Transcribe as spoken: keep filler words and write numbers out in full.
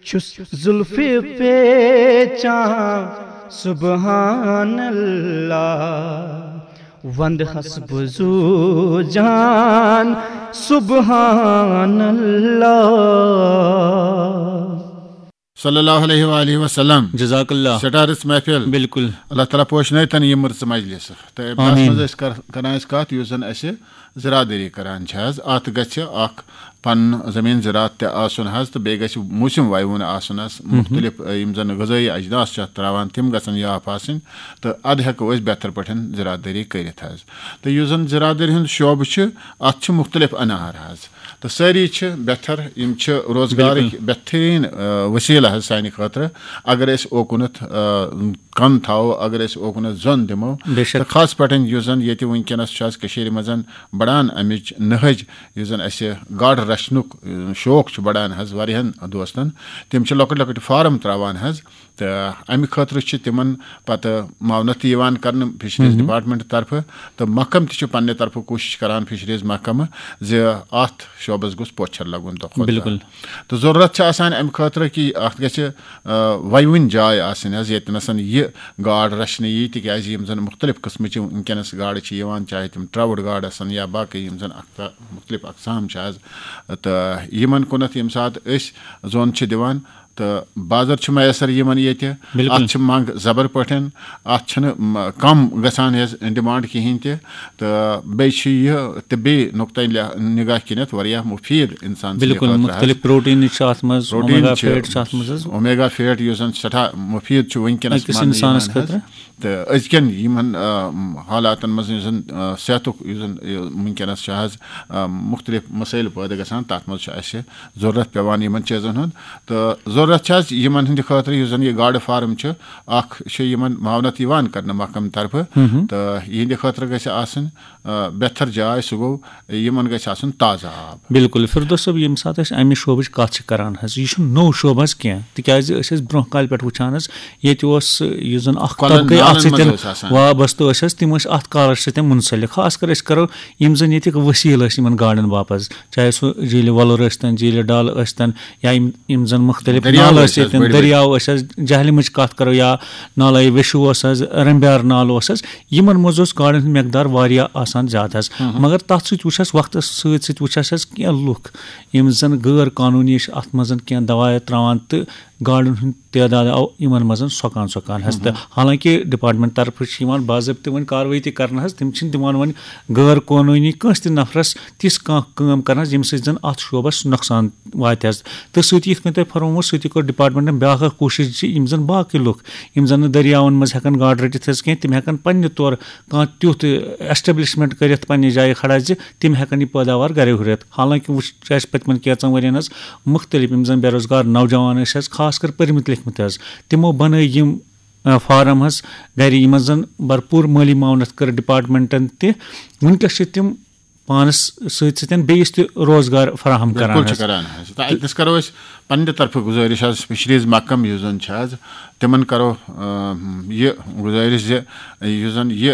چھُس زُلفہِ پیچان سبحان اللہ، وندٕ ہس بہٕ زوٗ جان سبحان اللہ۔ صلی اللہ علیہ وآلہ وسلم۔ جزاک اللہ۔ سٹارس محفل۔ بالکل۔ اللہ تعالیٰ پوشنٲوتن یِم رٕژٕ مجلس۔ تہٕ اتھ آمین۔ منٛز ٲسۍ کر-، کران أسۍ کتھ، یُس زن اسہِ زراعت دٲری کران چھِ حظ، اتھ گژھِ اکھ پنُن زٔمیٖن زراعت تہِ آسُن حظ، تہٕ بیٚیہِ گژھِ موسم ویوُن آسُن حظ، مُختلف، ٲ، یِم زن غذٲیی اجناس چھِ اتھ تراوان، تِم گژھن یاف آسٕنۍ، تہٕ ادٕ ہٮ۪کو أسۍ بہتر پٲٹھۍ زراعت دٲری کٔرِتھ حظ۔ تہٕ یُس زن زراعت دٲری ہُنٛد شعبہٕ چھُ، اتھ چھِ مُختلف انہار حظ، تہٕ سٲری چھِ بہتر، یِم چھِ روزگارٕکۍ بہتریٖن، ٲ، وسیلہٕ حظ سانہِ خٲطرٕ۔ اگر أسۍ اوکُنتھ، ٲ، کن تھاوو، اگر أسۍ اوکُنتھ زۄن دِمو، بے شک۔ تہٕ خاص پٲٹھۍ یُس زن ییٚتہِ وٕنکیٚنس چھُ حظ کٔشیٖرِ منٛز بڑان امِچ نہج، یُس زن اسہِ گاڈٕ رچھنُک، ٲ، شوق چھُ بڑان حظ واریاہن دوستن، تِم چھِ لۄکٕٹۍ لۄکٕٹۍ فارم تراوان حظ، تہٕ امہِ خٲطرٕ چھِ تِمن پتہٕ معاونت تہِ یِوان کرنہٕ فشریز ڈپارٹمنٹ طرفہٕ، تہٕ محکمہٕ تہِ چھُ پننہِ طرفہٕ کوٗشش کران، فشریز محکمہٕ، زِ اتھ شعبس گوٚژھ پوچھر لگُن دۄہ کھۄتہٕ دۄہ۔ بالکل۔ تہٕ ضروٗرت چھِ آسان امہِ خٲطرٕ کہِ اتھ گژھِ، آ، ویوٕنۍ جاے آسٕنۍ حظ، ییٚتہِ نسن یہِ گاڈ رچھنہٕ یی، تِکیازِ یِم زن مُختلف قٕسمٕچہِ وٕنکیٚنس گاڈٕ چھِ یِوان، چاہے تِم ٹراوُٹ گاڈ آسن یا باقٕے یِم زن اکھ مُختلف اقسام چھِ حظ، تہٕ یِمن کُنتھ ییٚمہِ ساتہٕ أسۍ زوٚن چھِ دِوان، تہٕ بازر چھُ میسر یِمن ییٚتہِ۔ بالکل۔ اتھ چھِ منٛگ زبر پٲٹھۍ، اتھ چھِنہٕ م-، کم گژھان حظ ڈیمانڈ کِہینۍ تہِ۔ تہٕ بیٚیہِ چھُ یہِ طبی نقطہ لح-، نگاہ کِنتھ واریاہ مفید انسان سٕنٛدِ بالکل، خٲطرٕ حظ۔ مختلف پروٹین چھِ اتھ منٛز، پروٹین اومیگا چھِ، فیٹ چھِ اتھ منٛز حظ۔ اومیگا فیٹ یُس زن سٮ۪ٹھاہ مفید چھُ وٕنکیٚنس أکِس ماننہٕ انسانس یِوان حظ۔ خٲطرٕ۔ تہٕ أزکٮ۪ن یِمن، آ، حالاتن منٛز یُس زن، آ، صحتُک یُس زن یہِ وٕنکیٚنس چھُ حظ، آ، مختلف مسٲیل پٲدٕ گژھان، تتھ منٛز چھُ اسہِ ضروٗرت پٮ۪وان یِمن چیٖزن ہُنٛد۔ تہٕ ضروٗرت چھِ حظ یِمن ہٕنٛدِ خٲطرٕ، یُس زن یہِ گاڈٕ فارم چھُ، اکھ چھُ یِمن معاونت یِوان کرنہٕ محکمہٕ طرفہٕ، تہٕ یِہنٛدِ خٲطرٕ گژھِ آسٕنۍ، آ، بہتر جاے، سُہ گوٚو یِمن گژھِ آسُن تازٕ آب۔ بالکل، فردوس صٲب، ییٚمہِ ساتہٕ أسۍ امہِ شعبٕچ کتھ چھِ کران حظ، یہِ چھُنہٕ نوٚو شعبہٕ حظ کینٛہہ، تِکیازِ أسۍ ٲسۍ برونٛہہ کالہِ پٮ۪ٹھ وٕچھان حظ، ییٚتہِ اوس یُس زن اکھ کۄلن طبقہٕ نالن اکھ منٛز سۭتۍ اوس آسان۔ وابستہٕ ٲسۍ حظ، تِم ٲسۍ اتھ کالس سۭتۍ منسلک۔ خاص کر أسۍ کرو یِم زن ییٚتِکۍ وسیٖلہٕ ٲسۍ یِمن گاڈن باپتھ، چاہے سُہ جھیٖلہِ وۄلُر ٲسۍتن، جھیٖلہِ ڈل ٲسۍتن، یا یِم، یِم زن مختلف دٔریاو نالہٕ ٲسۍ ٲسۍ حظ ٲسۍتن، بٔڑۍ بٔڑۍ۔ دٔریاو ٲسۍ حظ، جہلمٕچ کتھ کرو یا نالے ویشو اوس حظ، رمبیار نالہٕ اوس حظ، یِمن منٛز اوس گاڈن ہُنٛد مقدار واریاہ آسان زیادٕ حظ۔ مگر تتھ سۭتۍ وٕچھ اَسہِ وقتس سۭتۍ سۭتۍ وٕچھ اَسہِ حظ کینٛہہ لُکھ، یِم زن غٲر قانوٗنی چھِ اتھ منٛز کینٛہہ دوایہ تراوان تہٕ گاڈن ہُنٛد تعداد آو یِمن منٛز سۄکان سۄکان حظ۔ تہٕ حالانکہ ڈپارٹمنٹ طرفہٕ چھِ یِوان باضٲبطہٕ وۄنۍ کاروٲیی تہِ کرنہٕ حظ، تِم چھِنہٕ دِوان وۄنۍ غٲر قونوٗنی کٲنٛسہِ تہِ نفرس تِژھ کانٛہہ کٲم کرنہٕ حظ، ییٚمہِ سۭتۍ زن اتھ شعبس نۄقصان واتہِ حظ۔ تہٕ سۭتی یِتھ کٔنۍ تۄہہِ فرمومُت، سۭتی کوٚر ڈپارٹمنٹن بیاکھ اکھ کوٗشش زِ یِم زن باقٕے لُکھ، یِم زن نہٕ دٔریاون منٛز ہٮ۪کن گاڈٕ رٔٹِتھ حظ کینٛہہ، تِم ہٮ۪کن پننہِ طور کانٛہہ تیُتھ ایسٹیبلشمنٹ کٔرِتھ پننہِ جایہِ کھڑا زِ تِم ہٮ۪کن یہِ پٲداوار گرے ہُرِتھ۔ حالانکہِ وٕچھ چھُ اَسہِ پٔتمٮ۪ن کینٛژن ؤرین حظ مُختٔلِف یِم زَن بے روزگار نوجوان ٲسۍ حظ، خاص کر پٔرمٕتۍ لیکھمٕتۍ حظ، تِمو بَنٲے یِم، آ، فارم حظ گرِ، یِمن زَن بھرپوٗر مٲلی معاونت کٔر ڈپارٹمنٹن تہِ۔ وٕنکیٚس چھِ تِم پانَس سۭتۍ سۭتۍ بیٚیِس تہِ روزگار فراہم کران بِلکُل چھِ حظ۔ کران حظ۔ تہٕ اَتہِ نَس کرو أسۍ پننہِ طرفہٕ گُزٲرِش حظ، فشریز محکمہٕ یُس زَن چھِ حظ، تِمن کرو، آ، یہِ گُزٲرِش زِ یُس زَن یہِ